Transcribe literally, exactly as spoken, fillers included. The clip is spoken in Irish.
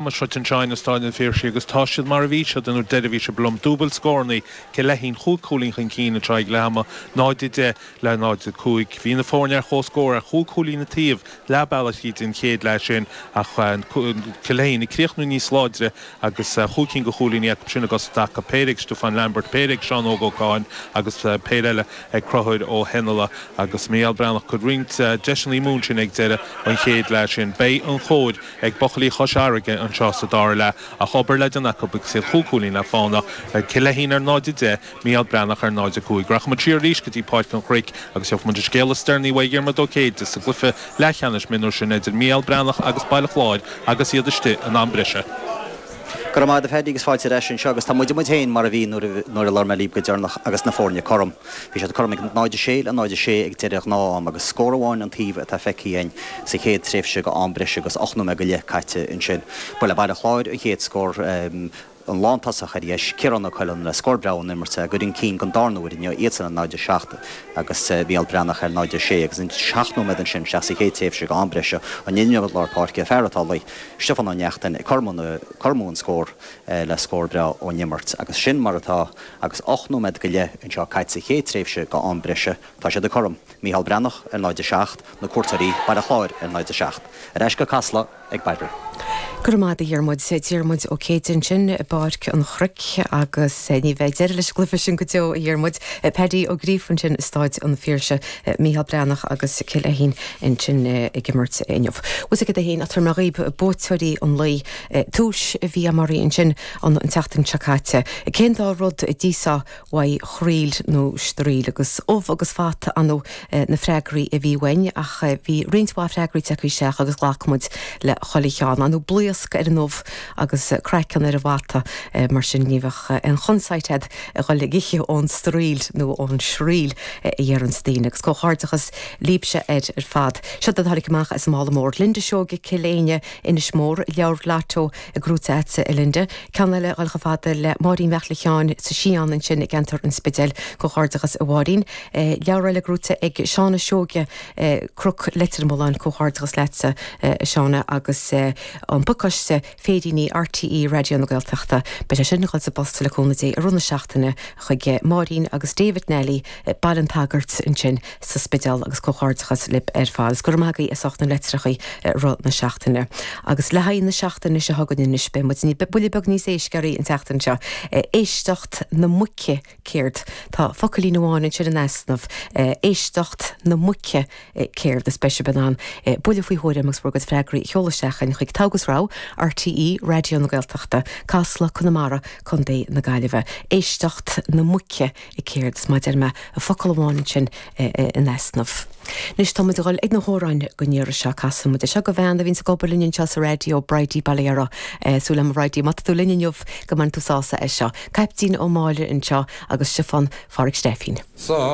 Seo anseo in Staid an Phiarsaigh agus tá siad mar a bhí siad an uair deiridh a bhí sibh liom. Dúbailt scóranna, Cill Leithín chúig chúilín chun cinn anseo ag leath ama, náid a deich le náid a cúig. Bhí na foirne ar comhscór ar chúig chúilín an taobh leath bealaigh tríd an chéad leath sin ach Cill Leithín ag críochnú níos láidre agus chúig cinn de chúilíní acu sin i gcos i dtaca, péire ag Stiofán Lambert, péire ag Seán Óg Ó Catháin agus péire eile ag Conchúr Ó hIonnala agus Mícheál Breathnach ag cur roinnt deiseanna amú ansin ag deireadh an chéad leath sin. Beidh an chóir ag buachaillí Chois Fharraige anseo sa dara leath ach obair le déanamh acu agus iad chúig chúilín le fánach, Cill Leithín ar náid a deich, Mícheál Breathnach ar náid a cúig. Rachaidh muid siar arís go dtí Páirc an Chnoic agus gheobhaidh muid an scéal is deireanaí uaidh Dhiarmuid Ó Céide sa gcluiche leathcheannais mionúir sin idir Mícheál Breathnach agus Baile Chláir agus iad istigh in am breise. Go raibh maith agat a Phaddy agus fáilte ar ais anseo agus tá muid muid féin mar a bhí nuair a labhair mé libh go deireanach agus na foirne cothrom. Bhí siad cothrom ag náid a sé le náid a sé ag deireadh ghnáth-am agus scór amháin an taobh atá feicthe againn sa chéad tréimhse go am breise agus ocht nóiméad go leith caite ansin. Ba le Baile Chláir an chéad scór an lántosach ar dheis, Ciarán Ó Coileáin le scór breá ón imirt ag cur chun cinn don darna huair inniu iadsan ar náid a seacht agus Mícheál Breathnach ar náid a sé agus an seacht nóiméad ansin isteach sa chéad tréimhse go am breise an imreoir lár páirce fear atá luí Stiofán Ó Neachtain ag cur amú an scór le scór breá ón imirt agus sin mar atá agus ocht nóiméad go leith anseo caite sa chéad tréimhse go am breise tá siad cothrom Mícheál Breathnach ar náid a seacht na cuairteoirí Baile Chláir ar náid a seacht. Ar ais go Casla ag Bairbre. Go raibh maith agat a Dhiarmuid Diarmuid Ó Céide ansin i bPáirc an Chnoic agus ní bheidh deireadh leis an gcluiche sin go deo a Dhiarmuid. Paddy Ó Gríofa ansin i Staid an Phiarsaigh Mícheál Breathnach agus Cill Leithín ansin ag imirt inniu. Bhus a haon a mar dhaoib buaiteoirí an lae túis a bhí amarí ansin an tseachtain seo caite. Cén dá rud a d'íosfá uaidh chroíl nó straoill agus ubh agus fata anú na freagraí a bhí uainn ach bhí roinnt mhaith freagraí tagtha isteach agus ghlac muid le chuile cheann anú blaosc ar an ubh agus craiceann ar an bhfata mar sin ní bheadh an chonsaeit a dhul ag ithe ón straoill nó ón sraoill a dhéarann daoine agus comhghairdeachas libhse ar ar fad. Seo a tháinig amach as an mála mór Linda Seoige Cill Éinne Inis Mór leabhar lotto gnóthaithe agatsa a Linda. Ceann eile ag dul fada le Máirín Mhic Sheáin sa Sián ansin i gceantar an Spidéil comhghairdeachas a Mháirín. Leabhar eile gnóthaithe ag Seána Seoige Cnoc Leitir Mealláin comhghairdeachas leatsa Seána agus an pacáiste féiríní R T E Raidió na Gaeltachta. Beidh sé sin ag dul sa bpost le cúnamh Dé i rith na seachtaine chuig Máirín agus David Nelly Baile an tSagairt ansin sa Spidéal agus comhghairdeachas libh ar fad. Gur magaí is na litreacha rith na seachtaine. Agus le haghaidh na seachtaine seo chugainn anois beidh muid ní buille beag níos éascaí an tseachtain seo. Éisteacht na muice céard Tá focailín amháin ansin in easnamh éisteacht na muice céard is beidh sibh in ann buille faoi thuairim agus bhur gcuid freagraí a sheoladh isteach chuig Togha is Rogha R T E Raidió na Gaeltachta, Casla Conamara Contae na Gaillimhe. Éisteacht na muice i céard is má deir mé a focal amháin ansin in easnamh. Anois tá muid ag dul ag na hamhráin don iarraidh seo casfaidh muid seo do bhean a bhíonn ag obair linn anseo sa raidió Bridie Balera súil agam Bridie má tá tú linn inniu go mbainfidh tú sásamh as seo. Caiptín Ó Máille anseo agus Stiofán Phádraig Stefín. Sa